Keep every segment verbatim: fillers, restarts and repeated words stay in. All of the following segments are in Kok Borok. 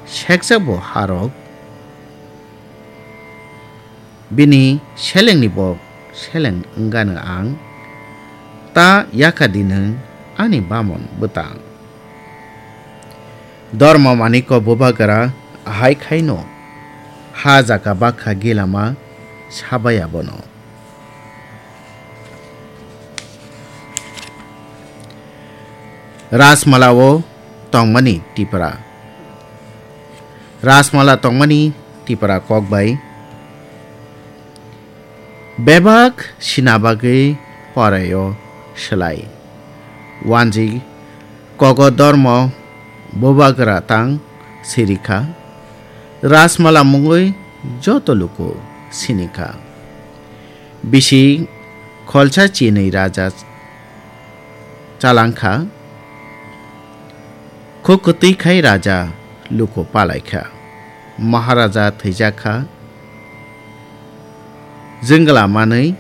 sekjabo harok, bini selengni bo seleng wngano ang, ta yakha di nwng ani bamon bwtang. Dormo maniko bubagra hai khaino ha jaga bakha gilama sabaya bono. Rajmala o tongmani Tipra. Rajmala tongmani Tipra kokbai. Bebak sina bagwi poraio swlai. Wanji kogo dormo bubagra tang sirikha. Rajmala mungwi joto luku sinikha. Bisi kholsa chinwi raja chalangkha. Khuk kwtwi khai raja luku palaikha. Maharaja thwijakha. Jwngla manwi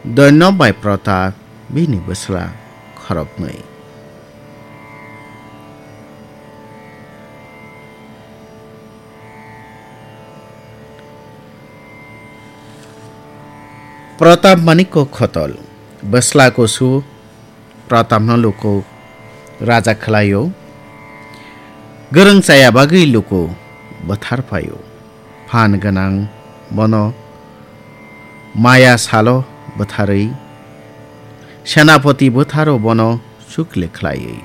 Doino bai Protap bini bwsla khoroknwi. Protap Manikko khotol, bwsla kusu Protapno luku raja khlaio. Gwrwng chaya bagwi luku bwthar phaio. Phan gwnang bono maya salo bwtharwi, senapoti bwtharo bono chukle khlaiwi,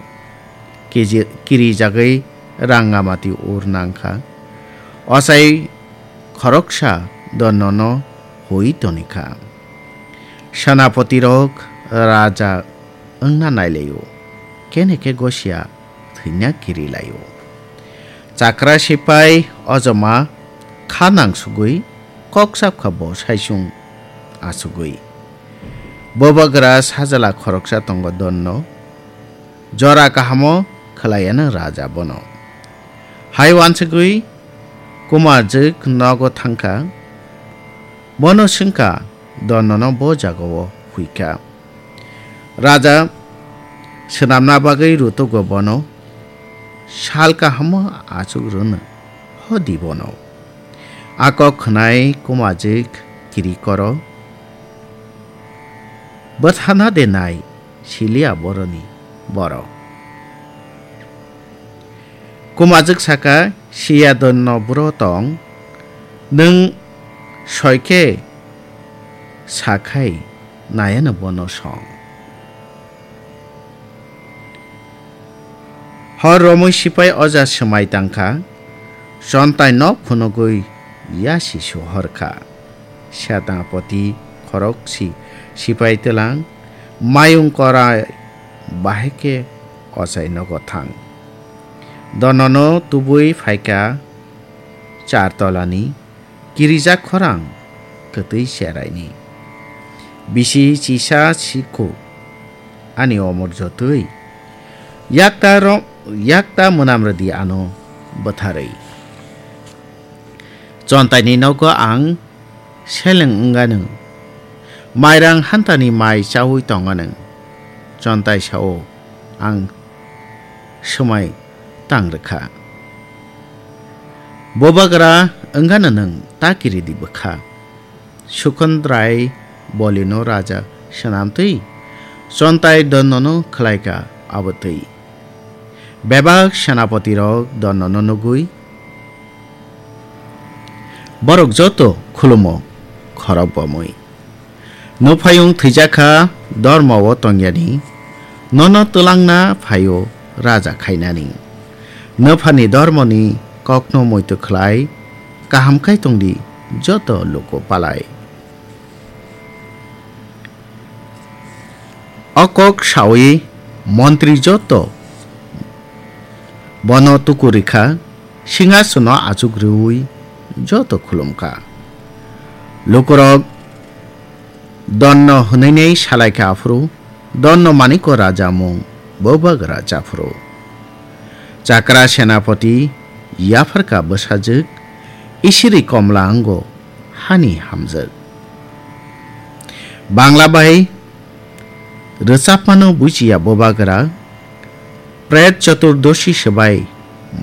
kiji-, kirijagwi Rangamati ur nangkha. Ochai khoroksa Dornono hui tonikha. Senapotirok raja wngna nailaio, kene khe gosia thwina kirilaio. Chakra sipai ojoma kha nangsugwi kok sapkha bo saisung asugwi. Bubagra sajla khoroksa tongo Dorno, jora kahamo khwlaiya nwng raja bono. Hai wansugwi Kumajwk nogo thangkha, bono swngkha, Dornono bo jagao huikha. Raja swnamna bagwi rutugo bono, sal kahamo achuk rwno hodi bono. A kok khwnai Kumajwk kiri koro, bwthana de nai siliya boroni borok. Kumajwk saka, siya Dorno buro tong, nwng soi khe sa khai nayano bono song. Hor romwi sipai oja swmai tangkha, chontai nok phunugwi yasi suhorkha. Senapoti khorok si sipai twlang, mayung korai bahai khe ochai nogo thang. Dornono tubui phaikha char tolani, kirijak khorang kwtwi cheraini. Bisi chisa sikhu ani omor jotwi. Yakta ro-, yakta mwnam rwdi ano bwtharwi. Chontaini nogo ang seleng wngano. Mairang hantani mai chaui tongano. Chontai sao ang swmai tang rwkha. Bubagra wngano nwng ta kiridi bwkha. Sukondrai bolino raja swnamtwi, chontai Dornono khwlaikha abotwi. Bebak senapotirok Dornono nugwi, borok joto khulumo khorok bomwi. Nuphayung thwijakha dormo-o tongyani, nono twlangna phaio raja khainani. Nuphani dormoni kokno muitu khlai, kaham khai tongdi joto luku palai. O kok saui montri joto bono tuku rikha, singhasono achuk rwui joto khulumkha. Lukurok Donno hwnwi salaikha aphuru, Donno Maniko raja mung bubagra chaphuru. Chakra senapoti yapharkha bwsajwk, Isiri Komla wngo hani hamjwk. Bangla bai rwchapmano bujiya bubagra, Pret Chaturdoshi swbai